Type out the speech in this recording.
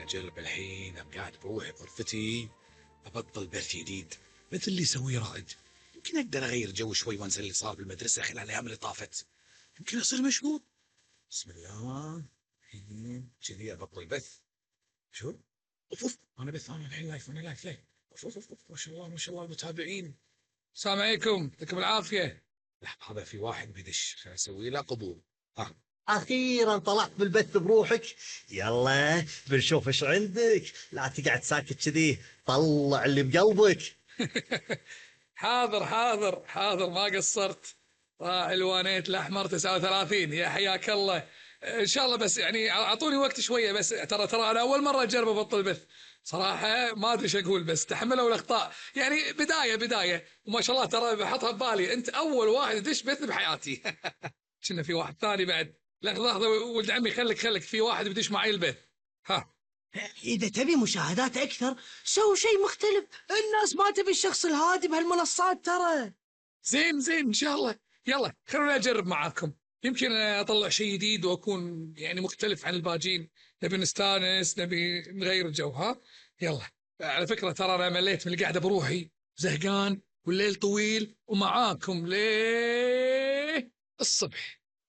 أنا أجرب الحين. أنا قاعد بروحي بغرفتي أبطل بث جديد مثل اللي يسويه رائد. يمكن أقدر أغير جو شوي وأنسى اللي صار بالمدرسة خلال الأيام اللي طافت. يمكن أصير مشهور. بسم الله. الحين كذي أبطل بث. شو؟ أوف أوف، أنا بث، أنا الحين لايف، أنا لايف. أوف أوف أوف، ما شاء الله ما شاء الله المتابعين. السلام عليكم، يعطيكم العافية. لحظة، هذا في واحد بيدش، خليني أسوي له قبول. ها. أخيرا طلعت بالبث بروحك. يلا بنشوف إيش عندك، لا تقعد ساكت كذي، طلع اللي بقلبك. حاضر حاضر حاضر، ما قصرت. راعي الوانيت الأحمر 39، يا حياك الله. إن شاء الله، بس يعني أعطوني وقت شوية، بس ترى أنا أول مرة أجرب أبطل بث صراحة. ما أدري إيش أقول، بس تحملوا الأخطاء، يعني بداية وما شاء الله. ترى بحطها ببالي أنت أول واحد يدش بث بحياتي. كنا في واحد ثاني بعد. لحظة ولد عمي، خلك في واحد بدش معي البث. ها. إذا تبي مشاهدات أكثر سوي شيء مختلف. الناس ما تبي الشخص الهادي بهالمنصات ترى. زين إن شاء الله. يلا خلوني أجرب معاكم، يمكن أطلع شيء جديد وأكون يعني مختلف عن الباجين. نبي نستانس، نبي نغير الجو. ها. يلا. على فكرة ترى أنا مليت من القعدة بروحي، زهقان والليل طويل ومعاكم ليه الصبح.